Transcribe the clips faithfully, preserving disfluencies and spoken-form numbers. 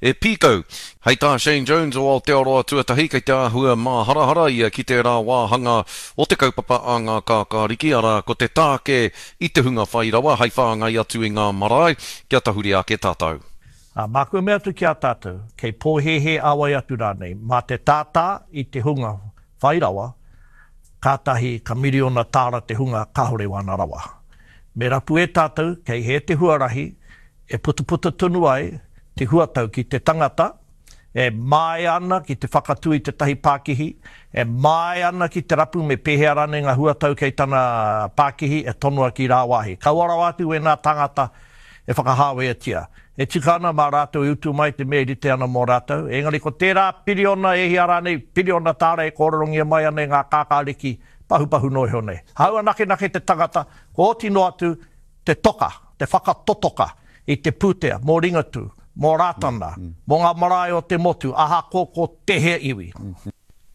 e pīkau. Hei tā Shane Jones o Aotearoa Tuatahi kei te āhua māharahara ia ki tērā wāhanga o te kaupapa a ngā kākāriki, arā, ko te tāke i te hunga whai rawa hei whāngai atu i ngā marae, kia tahuri ake tātou. Ā, māku e mea atu ki a tātou, kei pōhēhē a wai atu rānei, mā te tātā i te hunga whai rawa, kātahi ka miriona tāra te hunga kāore wāna rawa. Me rapu e tātou kei hē te huarahi e putaputa tonu ai te huatau ki te tangata e māia ana ki te whakatū i tētahi pākihi, e māia ana ki te rapu me pēhea rānei ngā huatau kei tana pākihi e tonoa ki rāwāhi. Kaua rawa atu wēnā tāngata e whakahāweatia. E tika ana mā rātou e utu mai te mea e rite ana mō rātou, engari ko tērā piriona e hia rānei, piriona tāra e kōrerongia mai ana e ngā kākāriki pahupahu noa iho nei. Hāua nakenake te tangata, kua oti noa atu te toka, te whakatotoka i te pūtea mō Ringatū, mō Rātana, mō ngā marae o te motu, ahakoa ko tēhea iwi.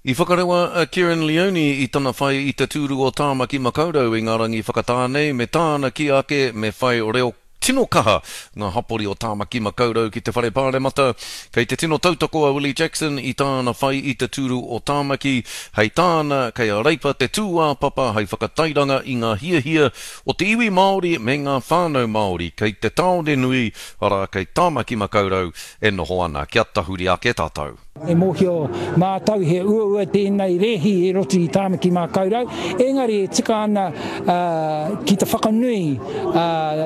I whakarewa a Kerrin Leoni i tana whai i te tūru o Tāmaki Makaurau i ngā rangi whakatā nei me tāna kī ake me whai reo tino kaha ngā hapori o Tāmaki Makaurau ki te Whare Pāremata. Kei te tino tautoko a Willie Jackson i tāna whai i te tūru o Tāmaki. Hei tāna, kei a Reipa te tūāpapa hei whakatairanga i ngā hiahia o te iwi Māori me ngā whānau Māori kei te tāone nui, arā, kei Tāmaki Makaurau e noho ana. Kia tahuri ake tātou. E mōhio mātou he uaua tēnei rēhi i roto i Tāmaki Makaurau, engari e tika ana ki te whakanui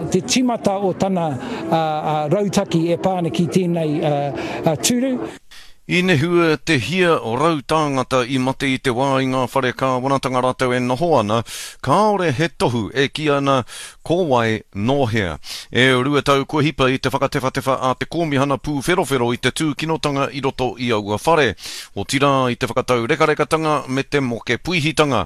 te tīmata o tana rautaki e pā ana ki tēnei tūru. I nehua te hia rau tāngata i mate i te wā i ngā whare kāwanatanga rātou e noho ana, kāore he tohu e kī ana ko wai nō hea. E rua tau kua hipa i te whakatewhatewha a te Kōmihana Pūwherowhero i te tūkinotanga i roto i aua whare, otirā i te whakataurekarekatanga me te moke puihitanga.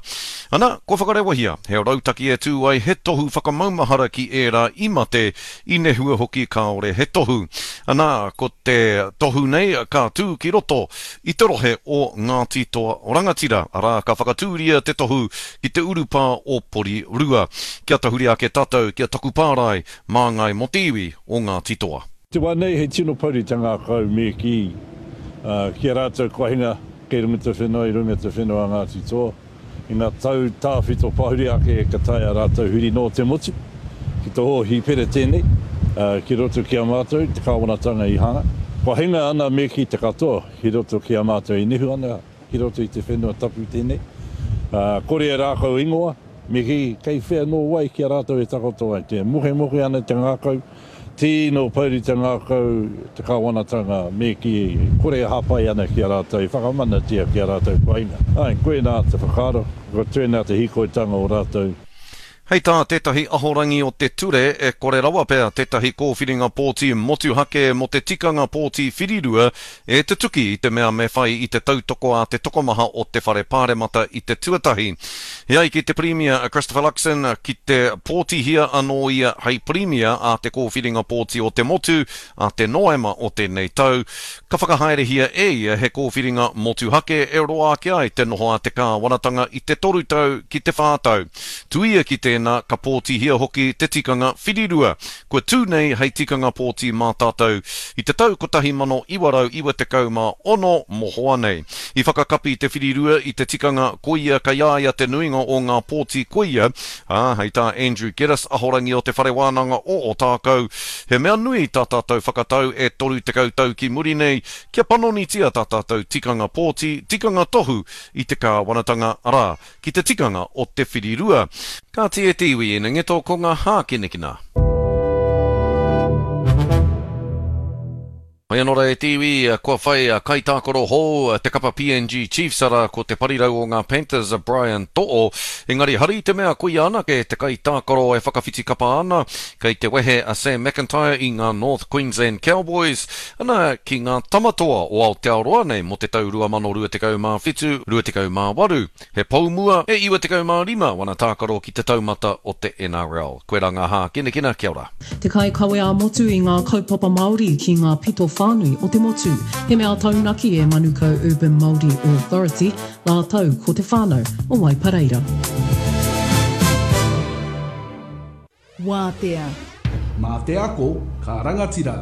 Ana, kua whakarewahia he rautaki e tū ai he tohu whakamaumahara ki ērā i mate, i nehua hoki kāore he tohu. Ana, ko te tohu nei ka tū ki roto i te rohe o Ngāti Toa Rangatira, arā, ka whakatūria te tohu ki te urupā o Porirua. Kia tahuri ake tātou ki a Taku Pārae, māngai mō te iwi o Ngāti Toa. Te wā nei he tino pouri te ngākau me kī ki a rātou kua hinga kei runga te whenua i runga te whenua a Ngāti Toa. I ngā tau tāwhito pahuri ake ka taea rātou huri noa te motu ki te hōhipera tēnei ki roto ki a mātou te kāwanatanga i hanga. Kua hinga ana me kī te katoa ki roto ki a mātou e nehu ana ki roto i te whenua tapu tēnei. Kore e rākau ingoa, me kī kei whea nō wai ki a rātou e takoto ai. Te mokemoke ana te ngākau, tino pouri te ngākau te kāwanatanga me kī kore e hāpai ana ki a rātou, e whakamanatia ki a rātou kua hinga. Āe, koinā te whakaaro, ko tēnā te hīkoitanga o rātou. Hei tā tētahi ahorangi o te ture, e kore rawa pea tētahi kōwhiringa pōti motuhake mō te tikanga pōti whirirua e tutuki i te mea me whai i te tautoko a te tokomaha o te Whare Pāremata i te tuatahi. E ai ki te Pirimia a Christopher Luxon, ki te pōtihia anō ia hei Pirimia a te kōwhiringa pōti o te motu a te Noema o tēnei tau, ka whakahaerehia e ia he kōwhiringa motuhake e roa ake ai te noho a te kāwanatanga i te toru tau ki te whā tau. Tuia ki tēnā, ka pōtihia hoki te tikanga whirirua, kua tū nei hei tikanga pōti mā tātou i te tau kotahi mano iwa rau iwa tekau mā ono mohoa nei. I whakakapi te whirirua i te tikanga koia kei a ia te nuinga o ngā pōti koia, ā, hei tā Andrew Geddis, ahorangi o Te Whare Wānanga o Ōtākou, he mea nui tā tātou whakatau e toru tekau tau ki muri nei kia panonitia tā tātou tikanga pōti, tikanga tohu i te kāwanatanga, arā, ki te tikanga o te whirirua. Kāti e te iwi ina ngeto ko ngā hākinakina. Hoi anō rā e te iwi, kua whai kaitākaro hou te kapa P N G Chiefs, arā ko te parirau o ngā Panthers a Brian To'o. Engari hari i te mea koia anake te kaitākaro e whakawhiti kapa ana, kei te wehe a Sam McIntyre i ngā North Queensland Cowboys, ana ki ngā tamatoa o Aotearoa nei mō te tau rua mano rua tekau mā whitu, rua tekau mā waru. He pou mua e iwa tekau mā rima wana tākaro ki te taumata o te N R L. Koirā ngā hākinakina, kia ora. Te kaikawe ā-motu i ngā kaupapa Māori ki ngā pito whānui o te motu. He mea taunaki e Manukau Urban Māori Authority, rātou ko te whānau o Waipareira. Wātea. Mā te ako, ka rangatira.